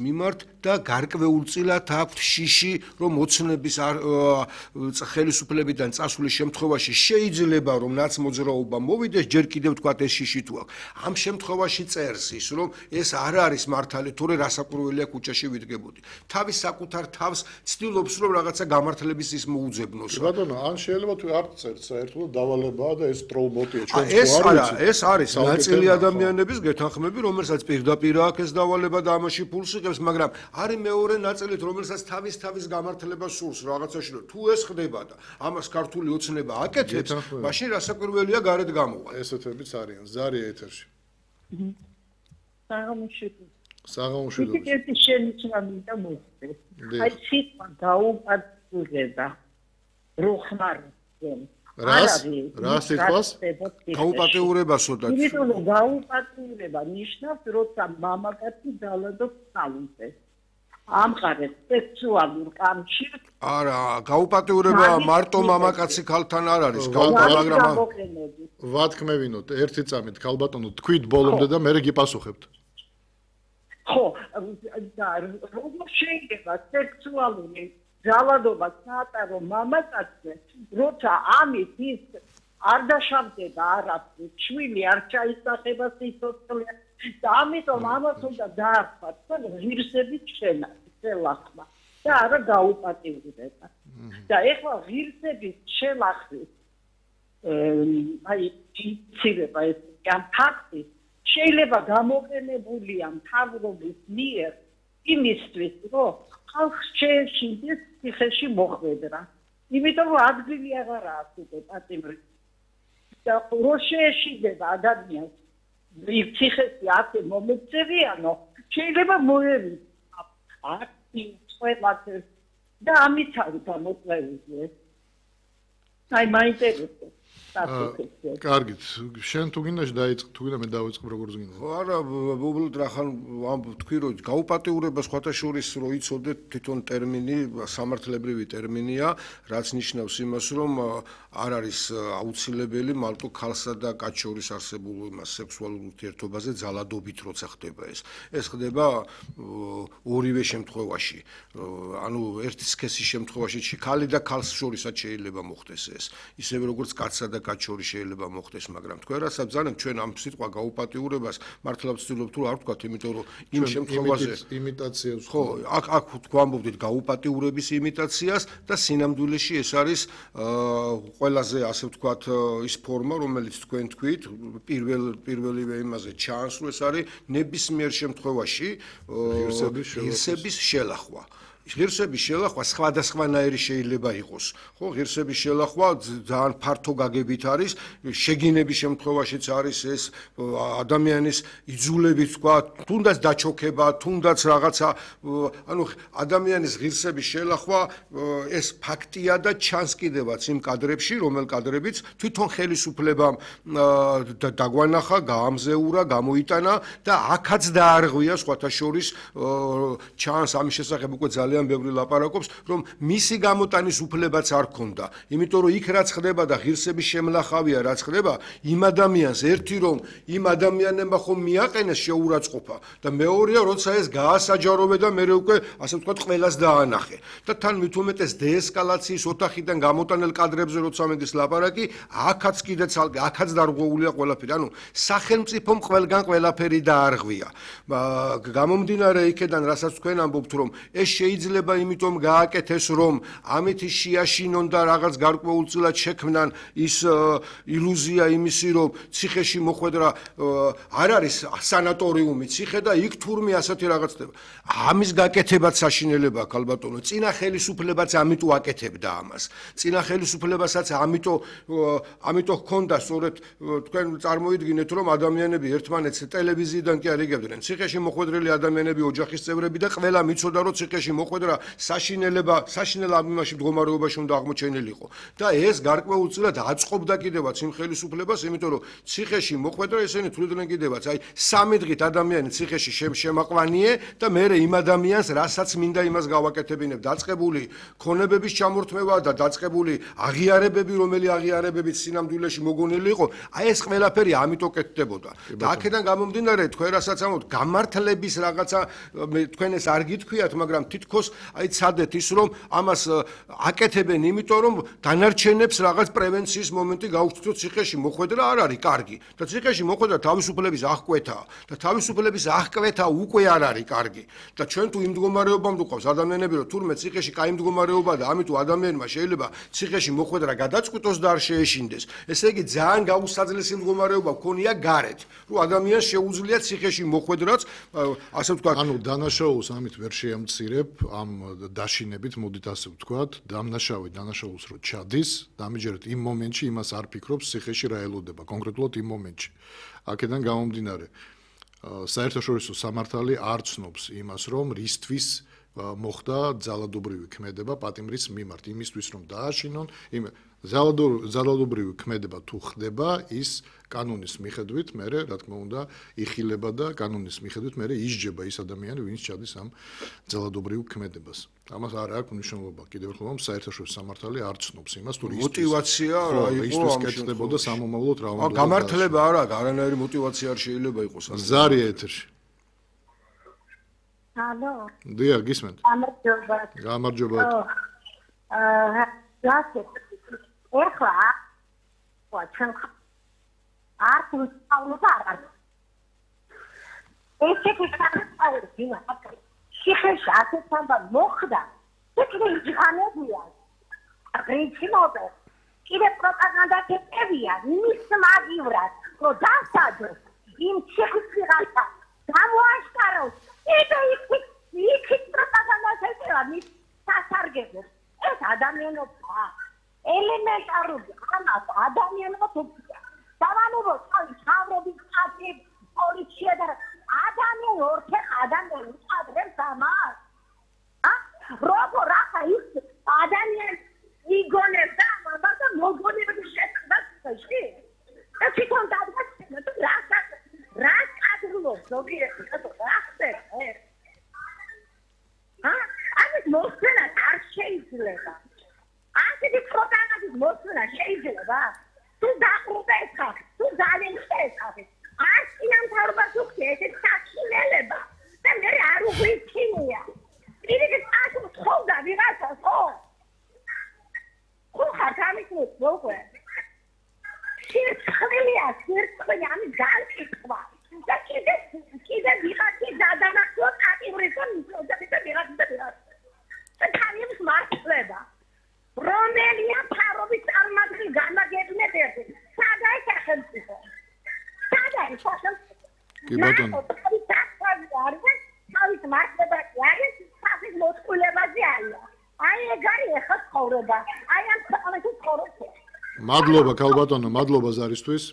მიმართ და გარკვეულწილად აქვთ შიში, რომ ოცნების ხელისუფლებიდან წასulis შემთხვევაში შეიძლება რომ ნაცმოძრაობა მოვიდეს, ჯერ კიდევ თქვათ ეს შიში თუ აქვს. ამ შემთხვევაში წერს ის, რომ ეს არ არის მართალი, თორე რასაკვირველია ქუჩაში ვიდგებოდი. თავის საკუთარ თავს ცდილობს რომ რაღაცა გამართლების ის მოუძებნოს. ბატონო, ან შეიძლება თუ არ წერს, საერთოდ დავალებაა და ეს ტროლბოტია, ჩვენ ეს არის ნაწილი ადამიანების გეთანხმები, რომელსაც პირდაპირ აქვს ეს დავალება და ამაში ფულს იღებს, მაგრამ არის მეორე ნაწილით, რომელსაც თავის გამართლებას სურს რაღაცაში, რომ თუ ეს ხდება და ამას ქართული ოცნება აკეთებს, მაშინ რასაკვირველია გარეთ გამოვა. ესეთებიც არიან. ზარია ეთერში. საღამოშვიდობა. ერთი შენიშნა მინდა მოხდეს. აი სიტყვა გაუპატიურება. როხმარზე. რა სიტყვას? გაუპატიურებასო და იმიტომ რომ გაუპატიურება ნიშნავს, როცა მამაკაცი ძალადობს თავზე. ამყარებს სექსუალურ კავშირს. არა, გაუპატიურება მარტო მამაკაცი ქალთან არ არის, მაგრამ ვათქმევინოთ ერთი წამით ქალბატონო თქვით ბოლომდე და მე გიპასუხებთ. ხო, და როგორ შეიძლება სექსუალური ძალადობა საატარო მამაკაცზე, როცა ამით ის არ დაშავდება არაფრით, შვილი არ ჩაისახება სიცოცხლე და ამიტომ ამას უნდა დაარქვათ, ღირსების შელახვა და არა გაუპატიურება. და ეხლა ღირსების შელახვის აი იცირება ეს ამ ფაქტი შეიძლება გამოყენებულია მთავრობის მიერ იმისთვის, რომ ხალხს შეეშინდეს ციხეში მოხვედრა. იმიტომ რომ ადგილი აღარ აქვს უკვე პატიმრით. და რო შეეშინდება ადამიანს ციხეში ასე მომეწევიანო, შეიძლება მოერიდოს აქტი ყველაფერს და ამით არის გამოწვეული. აი მაინტერესებს. კარგით, შენ თუ გინდა დაიწყო, თუ გინდა მე დავიწყებ როგორც გინდა. ხო, არა, უბრალოდ რახან თქვი რომ გაუპატიურება სხვათა შორის რო იცოდეთ თვითონ ტერმინი, სამართლებრივი ტერმინია, რაც ნიშნავს იმას, რომ არ არის აუცილებელი მარტო ქალსა და კაცს შორის არსებულ იმას სექსუალურ ურთიერთობაზე ძალადობით როცა ხდება ეს. ეს ხდება ორივე შემთხვევაში. ანუ ერთი სქესის შემთხვევაში ქალი და ქალს შორისაც შეიძლება მოხდეს ეს. ისევე როგორც კაცსა და კაც შორის შეიძლება მოხდეს, მაგრამ თქვენ რასაც ბრძანებთ, ჩვენ ამ სიტყვა გაუპატიურებას მართლა ვცდილობთ რომ არ ვთქვათ, იმიტომ რომ იმ შემთხვევაზე იმიტაციას ხო, აქ ვამბობდით გაუპატიურების იმიტაციას და სინამდვილეში ეს არის ყველაზე ასე ვთქვათ ის ფორმა, რომელიც თქვენ თქვით, პირველივე იმაზე ჩანს, რომ ეს არის ნებისმიერ შემთხვევაში ღირსების შელახვა. ღირსების შელახვა სხვადასხვანაირი შეიძლება იყოს. ხო, ღირსების შელახვა ძალიან ფართო გაგებით არის, შეგინების შემთხვევაშიც არის ეს ადამიანის იძულებით, თქვა, თუნდაც დაჩოქება, თუნდაც რაღაცა, ანუ ადამიანის ღირსების შელახვა ეს ფაქტია და ჩანს კიდევაც იმ კადრებში, რომელ კადრებიც თვითონ ხელისუფლებამ დაგვანახა, გაამზეურა, გამოიტანა და აქაც დაარღვია სხვათა შორის ჩანს ამის შესახებ უკვე ძალიან ბევრი ლაპარაკობს, რომ მისი გამოტანის უფლებაც არ ქონდა. იმიტომ რომ იქ რაც ხდება და ღირსების შემლახავია რაც ხდება, იმ ადამიანს ერთი რომ იმ ადამიანებმა ხომ მიაყენეს შეურაცხყოფა და მეორეა როცა ეს გაასაჯაროვე და მე უკვე ასე ვთქვათ ყველას დაანახე. და თან მით უმეტეს დეესკალაციის ოთახიდან გამოტანელ კადრებზე როცა მედის ლაპარაკი, აქაც კიდე ცალკე, აქაც დარღვეულია ყველაფერი. ანუ სახელმწიფომ ყველგან ყველაფერი დაარღვია. გამომდინარე იქედან, რასაც თქვენ ამბობთ, რომ ეს შეიძლება იმიტომ გააკეთეს, რომ ამით შეაშინონ და რაღაც გარკვეულწილად შექმნან ის ილუზია იმისი, რომ ციხეში მოხვედრა არ არის სანატორიუმი ციხე და იქ თურმე ასეთი რაღაც ხდება. ამის გაკეთებაც საშინელებაა, ქალბატონო. წინა ხელისუფლებაც ამიტომ აკეთებდა ამას. წინა ხელისუფლებასაც ამიტომ ჰქონდა სწორედ თქვენ წარმოიდგინეთ, რომ ადამიანები ერთმანეთს ტელევიზიიდან კი არ იგებდნენ. ციხეში მოხვედრილი ადამიანები ოჯახის წევრები და ყველა მიცოდა, რომ ციხეში მოხვედრა საშინელ ამბავში მდგომარეობაში უნდა აღმოჩენილიყო და ეს გარკვეულწილად აწყობდა კიდევაც იმ ხელისუფლებას, იმიტომ რომ ციხეში მოხვედრა ესენი თვლიდნენ კიდევაც, აი 3 დღით ადამიანი ციხეში შემაყვანიე და მე იმ ადამიანს რასაც მინდა იმას გავაკეთებინებ, დაწყებული ქონებების ჩამორთმევა და დაწყებული აღიარებები, რომელი აღიარებებით სინამდვილეში მოგონილი იყო, აი ეს ყველაფერი ამიტომ კეთდებოდა. და აქედან გამომდინარე, თქვენ რასაც ამბობთ, გამართლების რაღაცა თქვენ ეს არ გითქვიათ, მაგრამ თითქოს აი ცადეთ ის, რომ ამას აკეთებენ, იმიტომ რომ დანარჩენებს რაღაც პრევენციის მომენტი გაუჩნდოთ ციხეში მოხვედრა არ არის კარგი და ციხეში მოხვედრა თავისუფლების აღკვეთაა და თავისუფლების აღკვეთა უკვე არ არის კარგი და ჩვენ თუ იმ მდგომარეობამდე ვყავს ადამიანები, რომ თურმე ციხეში კაი მდგომარეობაა და ამიტომ ადამიანმა შეიძლება ციხეში მოხვედრა გადაწყვიტოს და არ შეეშინდეს. ესე იგი ძალიან გაუსაძლესი მდგომარეობა ქონია გარეთ, რომ ადამიანს შეუძლია ციხეში მოხვედრაც, ასე ვთქვათ, ანუ დანაშაულს ამით ვერ შეამცირებ ამ დაშინებით, მოდით ასე ვთქვათ, დანაშაულს რო ჩადის, დამიჯერეთ იმ მომენტში იმას არ ფიქრობს ციხეში რა ელოდება, კონკრეტულად იმ მომენტში. აქედან გამომდინარე, საერთაშორისო სამართალი არ ცნობს იმას, რომ რისთვის მოხდა ძალადობრივი ქმედება პატიმრის მიმართ, იმისთვის რომ დააშინონ, ძალადობრივი ქმედება თუ ხდება, ის კანონის მიხედვით მერე, რა თქმა უნდა, იხილება და კანონის მიხედვით მერე ისჯება ის ადამიანი, ვინც ჩადის ამ ძალადობრივ ქმედებას. ამას არ აქვს მნიშვნელობა. კიდევ ერთხელ რომ საერთაშორისო სამართალი არ ცნობს იმას, თუ მოტივაცია რა იყო ამ კეთდებოდა სამომავლოდ რა უნდა. გამართლება არ აქვს, არანაირი მოტივაცია არ შეიძლება იყოს. ზარია ეთერში. ალო. დიახ, გისმენთ. გამარჯობა. ეხლა ჩვენ არ ვსწავლობ არ. ესე კი ციხეში ასეთ ამბავ მოხდა, თქო იჯანებია. პრინციპობე, კიდე პროპაგანდას ეტევია, მის მაგივრად, რომ დასაჯოს იმ ციხის ვიღაცა გამოაშკაროს. იქ პროპაგანდას ეტევა მის სასარგებლოს. ეს ადამიანობა ელემენტარული ამას ადამიანებს უწევს. დავალებო თავის თავრობის ხალხი პოლიცია და ადამიანი ორთე ადამიანი უწადებს ამას. როგორ ახლა ის ადამიანი იგონებს ამას და მოგონებს შეხედაში. ეს თვითონ დაგაცნო თუ რა კადრულობს ზოგიერთი რა ხდება. ამის მოსვენა არ შეიძლება. ასეთი პროპაგანდის მოსვენა შეიძლება. თუ დაყრუდა ეს ხალხი, თუ ძალიან ეს ხალხი. ასიან თავრობას უხდეთ ეს საქმელება და მე არ უღიჩინია. პირიქით ასო თხოვდა ვიღაცა ხო? ხო ხარ გამიქნეს როგორ? სირცხლია ამის განკითხვა. და კიდე ვიღაცი დადანახოს ატივრისონ და ვიღაცა. და თანებს მართლება. რომელია თავრობის წარმართი გამაგებინეთ ერთი. სადაა სახელმწიფო? სადაა სახელმწიფო? კი ბატონო. თავის მართლებაში არის, თავის მოწყვილებაზე არის. აი ეგ არის ახლა ცხოვრება. აი ამ ქვეყანაში ცხოვრობ. მადლობა ქალბატონო, მადლობა ზარისთვის.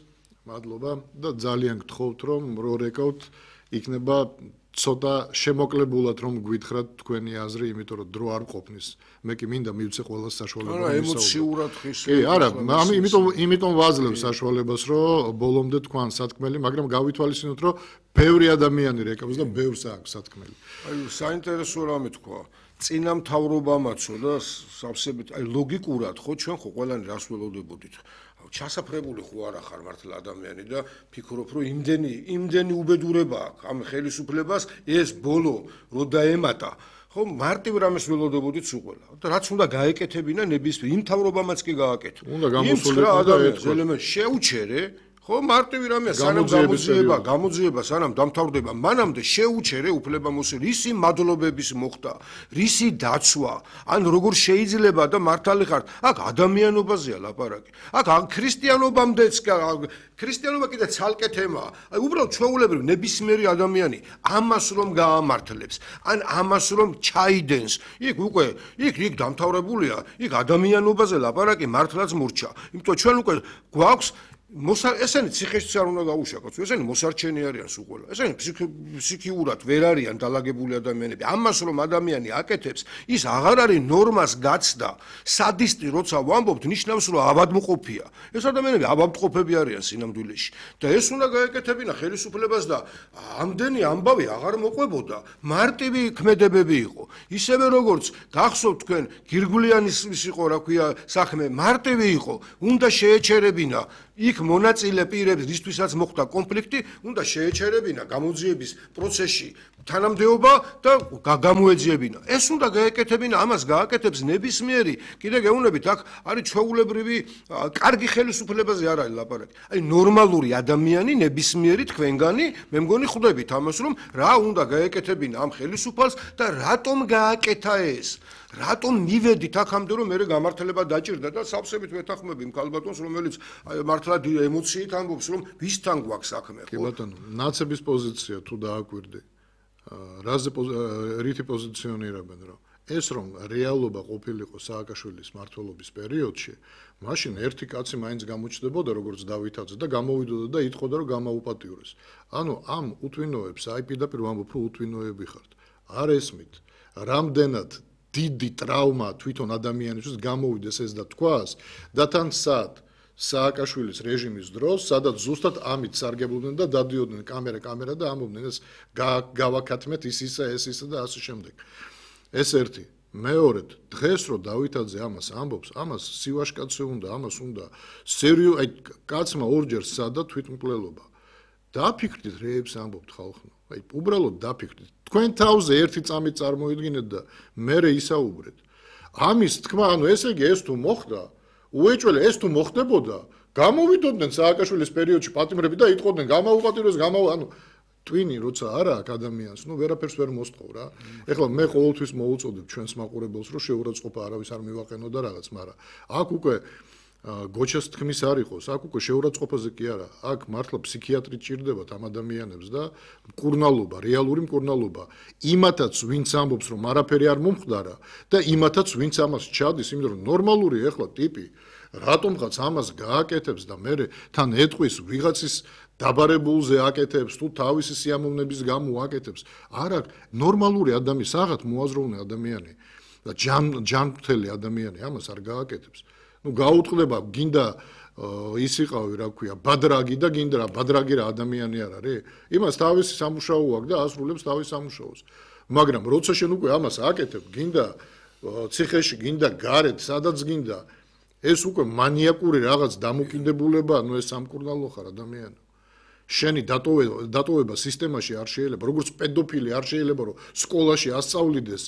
მადლობა და ძალიან გთხოვთ რომ რო რეკავთ იქნება ცოტა შემოკლებულად რომ გვითხრათ თქვენი აზრი, იმიტომ რომ დრო არ ყოფნის. მე კი მინდა მივცე ყველა საშუალება. არა, ემოციურად ხის. კი, არა, იმიტომ ვაძლევ საშუალებას, რომ ბოლომდე თქვან სათქმელი, მაგრამ გავითვალისწინოთ, რომ ბევრი ადამიანი რეკავს და ბევრს აქვს სათქმელი. აი, საინტერესო რამე თქვა. წინა მთავრობამაცო და სავსებით, აი ლოგიკურად ხო ჩვენ ხო ყველანი რას ველოდებოდით? ჩასაფრებული ხო არა ხარ მართლა ადამიანი და ფიქრობ რომ იმდენი უბედურება აქვს ამ ხელისუფლებას ეს ბოლო რო დაემატა ხო მარტივ რამეს ველოდებოდით სულ ყველა და რაც უნდა გაეკეთებინა ნებისმიერ იმ მთავრობამაც კი გააკეთა უნდა გამოსულიყო და ადამიანს შეუჩერე ხო მარტივი რამეა სანამ გამოძიება სანამ დამთავრდება მანამდე შეუჩერე უფლებამოსილ რისი მადლობების მოხდა რისი დაცვა ან როგორ შეიძლება და მართალი ხარ აქ ადამიანობაზეა ლაპარაკი აქ ქრისტიანობამდეც ქრისტიანობა კიდე ცალკე თემაა აი უბრალოდ ჩვეულებრივ ნებისმიერი ადამიანი ამას რომ გაამართლებს ან ამას რომ ჩაიდენს იქ დამთავრებულია იქ ადამიანობაზე ლაპარაკი მართლაც მურჩა იმიტომ ჩვენ უკვე გვაქვს ესენი ციხეშიც არ უნდა გაუშაკოთ, ესენი მოსარჩენი არიან სულ ყველა. ესენი ფსიქიურად ვერ არიან დალაგებული ადამიანები. ამას რომ ადამიანი აკეთებს, ის აღარ არის ნორმას გაცდა. სადისტი როცა ვამბობთ, ნიშნავს რომ ავადმყოფია. ეს ადამიანები ავადმყოფები არიან სინამდვილეში. და ეს უნდა გაეკეთებინა ხელისუფლებას და ამდენი ამბავი აღარ მოყვებოდა. მარტივი ქმედებები იყო. ისევე როგორც გახსოვთ თქვენ გირგვლიანის იყო, რა ქვია, საქმე მარტივი იყო. უნდა შეეჩერებინა იქ მონაწილე პირებს, რისთვისაც მოხდა კონფლიქტი, უნდა შეეჩერებინა გამოძიების პროცესში თანამდებობა და გამოეძიებინა. ეს უნდა გაეკეთებინა, ამას გააკეთებს ნებისმიერი. კიდე გეუბნებით, აქ არის ჩვეულებრივი კარგი ხელისუფლებაზე არ არის ლაპარაკი. აი ნორმალური ადამიანი, ნებისმიერი თქვენგანი, მე მგონი ხვდებით ამას, რომ რა უნდა გაეკეთებინა ამ ხელისუფალს და რატომ გააკეთა ეს. რატომ მივედით აქამდე რომ მე გამართლება დაჭირდა და სავსებით ვეთანხმები იმ ქალბატონს რომელიც მართლა ემოციით ამბობს რომ ვისთან გვაქვს საქმე ხო? კი ბატონო, ნაცების პოზიცია თუ დააკვირდი, რაზე რითი პოზიციონირებენ რომ ეს რომ რეალობა ყოფილიყო სააკაშვილის მმართველობის პერიოდში, მაშინ ერთი კაცი მაინც გამოჩნდებოდა როგორც დავითაძე და გამოვიდოდა და იტყოდა რომ გამაუპატიურეს. ანუ ამ უთვინოებს აი პირდაპირ ვამბობ რომ უთვინოები ხართ. არ ესმით, რამდენად დიდი ტრავმა თვითონ ადამიანისთვის გამოვიდეს ეს და თქვას და თან სააკაშვილის რეჟიმის დროს, სადაც ზუსტად ამით სარგებლობდნენ და დადიოდნენ კამერა და ამბობდნენ ეს გავაკეთმეთ ის ისე და ასე შემდეგ. ეს ერთი. მეორედ, დღეს რო დავითაძე ამას ამბობს, ამას სივაშკაცე უნდა, ამას უნდა აი კაცმა ორჯერ სცადა თვითმკვლელობა. დაფიქრდით რეებს ამბობთ ხალხო. აი უბრალოდ დაფიქრდით. თქვენ თავზე ერთი წამით წარმოიდგინეთ და მერე ისაუბრეთ. ამის თქმა, ანუ ესე იგი ეს თუ მოხდა, უეჭველე ეს თუ მოხდებოდა, გამოვიდოდნენ სააკაშვილის პერიოდში პატიმრები და იტყოდნენ გამაუპატიურეს, ანუ ტვინი როცა არა აქ ადამიანს, ნუ ვერაფერს ვერ მოსთხოვ რა. ეხლა მე ყოველთვის მოუწოდებ ჩვენს მაყურებელს, რომ შეურაცხყოფა არავის არ მივაყენო და რაღაც, მაგრამ აქ უკვე გოჩას თქმის არ იყოს, აქ უკვე შეურაცხყოფაზე კი არა, აქ მართლა ფსიქიატრი ჭირდებათ ამ ადამიანებს და მკურნალობა, რეალური მკურნალობა. იმათაც ვინც ამბობს რომ არაფერი არ მომხდარა და იმათაც ვინც ამას ჩადის, იმიტომ რომ ნორმალური ეხლა ტიპი რატომღაც ამას გააკეთებს და მე თან ეტყვის ვიღაცის დაბარებულზე აკეთებს თუ თავისი სიამოვნების გამო აკეთებს. არა, ნორმალური ადამიანი, საღათ მოაზროვნე ადამიანი და ჯანმრთელი ადამიანი ამას არ გააკეთებს. ნუ გაუტყდება, გინდა ის იყავი, რა ქვია, ბადრაგი და გინდა რა, ბადრაგი რა ადამიანი არ არის? იმას თავისი სამუშაო აქვს და ასრულებს თავის სამუშაოს. მაგრამ როცა შენ უკვე ამას აკეთებ, გინდა ციხეში, გინდა გარეთ, სადაც გინდა, ეს უკვე მანიაკური რაღაც დამოკიდებულება, ნუ ეს სამკურნალო ხარ ადამიანი. შენი დატოვება სისტემაში არ შეიძლება, როგორც პედოფილი არ შეიძლება, რომ სკოლაში ასწავლიდეს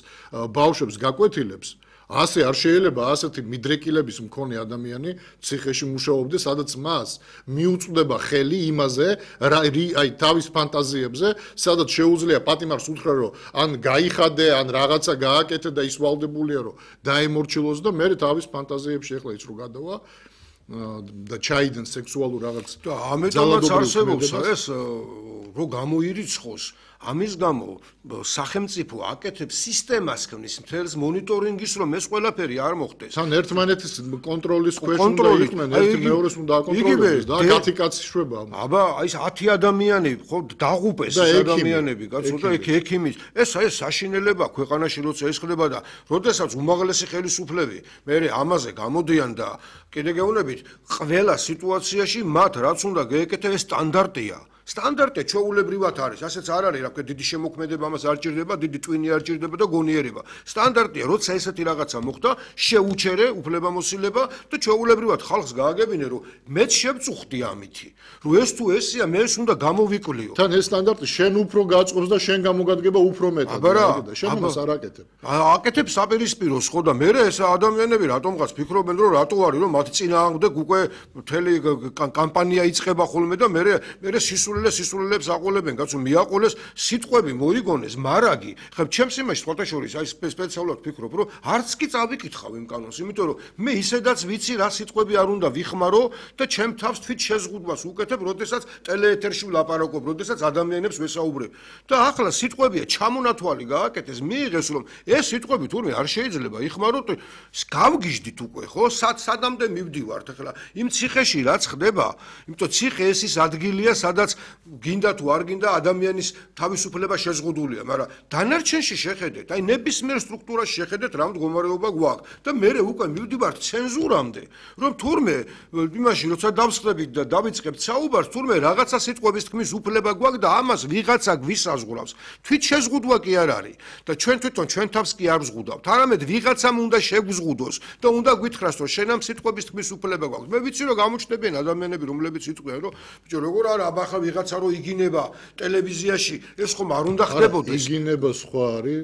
ბავშვებს გაკვეთილებს, ასე არ შეიძლება ასეთი მიდრეკილების მქონე ადამიანი ციხეში მუშაობდეს, სადაც მას მიუწვდება ხელი იმაზე, აი თავის ფანტაზიებზე, სადაც შეუძლია პატიმარს უთხრა, რომ ან გაიხადე, ან რაღაცა გააკეთე და ის ვალდებულია, რომ დაემორჩილოს და მე თავის ფანტაზიებში ეხლა ის რო გადავა და ჩაიდენ სექსუალურ რაღაც და ამიტომაც არსებობს ეს რო გამოირიცხოს ამის გამო სახელმწიფო აკეთებს სისტემას ქმნის მთელს მონიტორინგის რომ ეს ყველაფერი არ მოხდეს. თან ერთმანეთის კონტროლის ქვეშ უნდა იყვნენ, ერთი მეორეს უნდა აკონტროლოს და 10 კაცი შვება. აბა, აი 10 ადამიანი ხო დაღუპეს ეს ადამიანები, კაცო და ექიმის. ეს საშინელება ქვეყანაში როცა ეს ხდება და როდესაც უმაღლესი ხელისუფლები მე ამაზე გამოდიან და კიდე გეუბნებით, ყველა სიტუაციაში მათ რაც უნდა გაეკეთეს ეს სტანდარტია. სტანდარტი ჩვეულებრივად არის, ასეც არ არის, რა ქვია, დიდი შემოქმედება ამას არ ჭირდება, დიდი ტვინი არ ჭირდება და გონიერება. სტანდარტია, როცა ესეთი რაღაცა მოხდა, შეუჩერე უფლებამოსილება და ჩვეულებრივად ხალხს გააგებინე, რომ მეც შევწუხდი ამითი, რომ ეს თუ ესია, მე ეს უნდა გამოვიკვლიო. თან ეს სტანდარტი შენ უფრო გაწყობს და შენ გამოგადგება უფრო მეტად და შენ ამას არ აკეთებ. აკეთებ საპირისპიროს ხო და მე ეს ადამიანები რატომღაც ფიქრობენ, რომ რატო არის, რომ მათ წინააღმდეგ უკვე მთელი კამპანია იწყება ხოლმე და მე სისულელე სისულელებს აყოლებენ, კაცო, მიაყოლეს სიტყვები მოიგონეს, მარაგი. ხა ჩემს იმაში ფოტოშორის აი სპეციალურად ვფიქრობ, რომ არც კი წავიკითხავ იმ კანონს, იმიტომ რომ მე ისედაც ვიცი რა სიტყვები არ უნდა ვიხმარო და ჩემ თავს თვით შეზღუდვას უკეთებ, როდესაც ტელეეთერში ვლაპარაკობ, როდესაც ადამიანებს ვესაუბრებ. და ახლა სიტყვებია ჩამონათვალი გააკეთეს, მიიღეს რომ ეს სიტყვები თურმე არ შეიძლება იხმაროთ, გავგიჟდით უკვე, ხო? სადამდე მივდივართ ახლა იმ ციხეში რაც ხდება, იმიტომ ციხე ეს ის ადგილია, სადაც გინდა თუ არ გინდა ადამიანის თავისუფლება შეზღუდულია, მაგრამ დანარჩენში შეხედეთ, აი ნებისმიერ სტრუქტურაში შეხედეთ რა მდგომარეობა გვაქვს და მე უკვე მივდივართ ცენზურამდე, რომ თურმე იმაში როცა დავსხდებით და დავიწყებთ საუბარს, თურმე რაღაცა სიტყვების თქმის უფლება გვაქვს და ამას ვიღაცა გვისაზღვრავს. თვით შეზღუდვა კი არ არის და ჩვენ თვითონ ჩვენ თავს კი არ ვზღუდავთ. არამედ ვიღაცამ უნდა შეგვზღუდოს და უნდა გითხრას, რომ შენ ამ სიტყვების თქმის უფლება გვაქვს. მე ვიცი რომ გამოჩნდებიან ადამიანები, რომლებიც იტყვიან, რომ ბიჭო, როგორ არა, აბახა ვიღაცა რო იგინება ტელევიზიაში, ეს ხომ არ უნდა ხდებოდეს. იგინება სხვა არის,